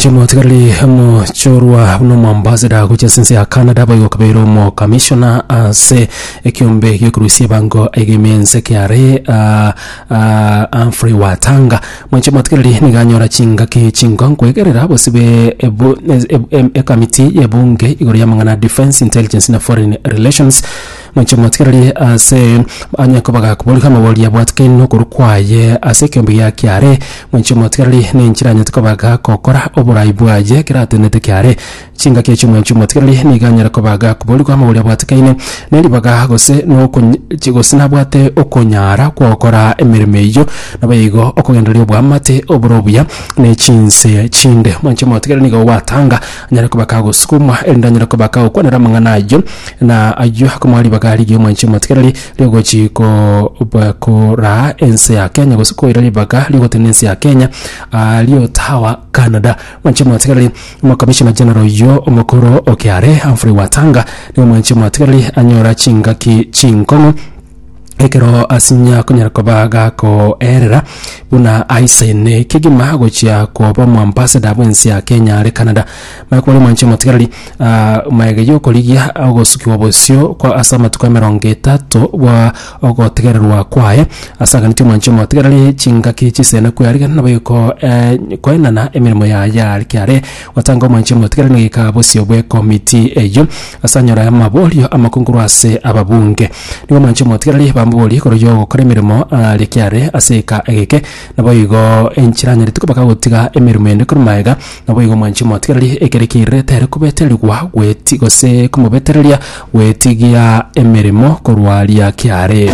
Mwanche motigareri omochorwa buna omoambassador gochia ase ense ya Canada boigo okabeire omokamishona ase ekiombe giokorusia ebango egime ense kiare ah, ah, Humphrey Watanga. Mwanche motigareri nigo anyora chingaki chinkonkoegerera bosibe ebu, e, e, ekamiti y'ebunge igoro y'amang'ana a Defence, Intelligence na Foreign Relations. Mwanche motigareri ase anya koba gakoborigwa amabori abwatekaine nokorwa kwaye ase ekeombe gia kiare. Mwanche omotigareri nenchera anyete koba gagokora oborai bwaye ekero atenenete kiare. Chingaki echio mwanche omotigareri nigo anyare koba gakoborigwa amabori abwatekaine ne ribaga gose nokony gose nabwate okonyara kw'ogokora emeremo eyio, naboigo okogendereria oboamate obore obuya ne chinse chinde. Mwanche omotigareri nigo gwatanga anyare koba kagosukumwa erinde anyare koba kagokwanera amang'ana ayio na ayio akomoa ribaga rigiya omwanche omotigareri Rigochi koraa ense ya Kenya gose koira ribaga rigotenena ense ya Kenya aaria Ottawa, Canada. Mwanche mwatigareri Omokamishona General oyio omokoro o KRA Humphrey Watanga nigo mwanche mwatigareri anyora chingaki chinkong'u ekero asinya konyara koba gakoerera buna aisaine kegima gochia koba omoambassador bw'ense ya Kenya are Canada. Maya kore mwanche motigareri magega y'okorigia ogosukigwa bosio kwa ase amatuko emerongo etato bwa ogotegererwa kwaye, ase aganeti omwanche omotigareri chingaki chisene kwearigana nabo iko koenana emeremo yaye are kiare gotanga omwanche omotigareri goika bosio bw'ekomiti eyio ase anyore amaborio amakongu korwa ase ababunge. Nigo omwanche omotigareri bamoborie igoro y'ogokora emeremo aria kiare ase eka egeke, naboigo enchera anyarete koba kagotiga emeremo ende korwa magega. Naboigo omwanchi omotigereri ekere kiairerete ere kobetererigwa gweti gose komobetereria gwetigia emeremo korwa aria kiare.